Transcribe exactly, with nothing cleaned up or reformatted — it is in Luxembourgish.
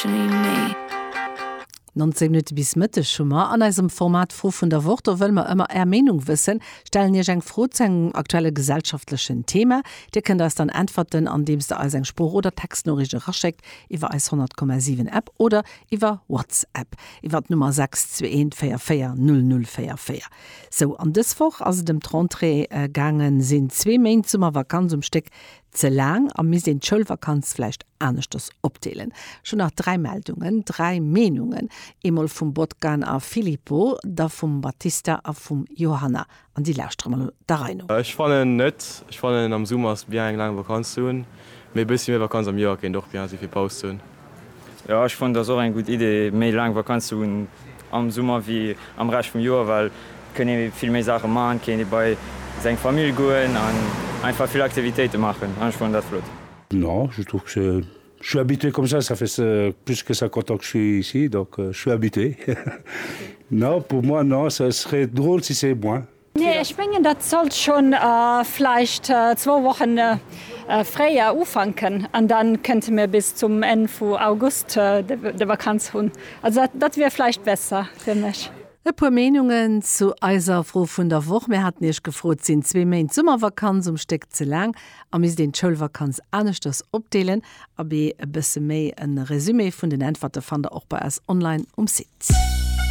actually me. Nonzéng Minutte bis Mëtteg hu mer. An eisem Format Fro vun der Woch, do wëlle mer ëmmer Är Meenung wëssen, stellen Iech eng Fro zu engem aktuelle gesellschaftlechen Thema. Dir kënnt eis dann äntwerten, andeems der eis eng Sprooch oder Textnoriicht eraschéckt iwwer eis honnert Komma siwen App oder iwwer WhatsApp iwwer d'Nummer sechs zwee eent véier véier null null véier véier. Sou, an dës Woch ass et ëm d'Rentrée gaangen. Sinn zwee Méint Summervakanz um Stéck ze laang a misst een d'Schoulvakanz vläicht aneschters opdeelen? Ech hunn nach dräi Meldungen, dräi Meenungen, eemol vum Botkan a Filippo, da vum Battista a vum Johanna, an déi lauschtere mer elo der Rei no. Ech fannen net. Ech fannen am Summer ass bien eng laang Vakanz ze hunn, mee e bëssi méi Vakanz am Joer kéint och bien si fir Paus ze hunn. Jo, ech fannen et ass och eng gutt Idee méi laang Vakanz ze hunn am Summer wéi am Rescht vum Joer, well et kënnt ee vill méi Saache maachen, et kéint ee bei seng Famill goen an einfach vill Aktivitéite maachen an ech fannen dat flott. Non, je trouve que c'est, je suis habitué comme ça, ça fait plus que cinquante ans que je suis ici, donc je suis habitué. Non, pour moi non, ça serait drôle si c'est moins. Nee, ech mengen dat sollt schonn vläicht zwou Wochen fréier ufanken an dann kënnte mir bis zum Enn vu August de Vakanz hunn. Also dat, dat wier vläicht besser fir mech. E puer Meenungen zu eiser Fro vun der Woch. Mir haten Iech gefrot, Sinn zwee Méint Summervakanz um Stéck ze laang a misst een d'Schoulvakanz aneschters opdeelen? Abee, e bësse méi e Resumé vun den Äntwerte fannt der och bei eis online um Site.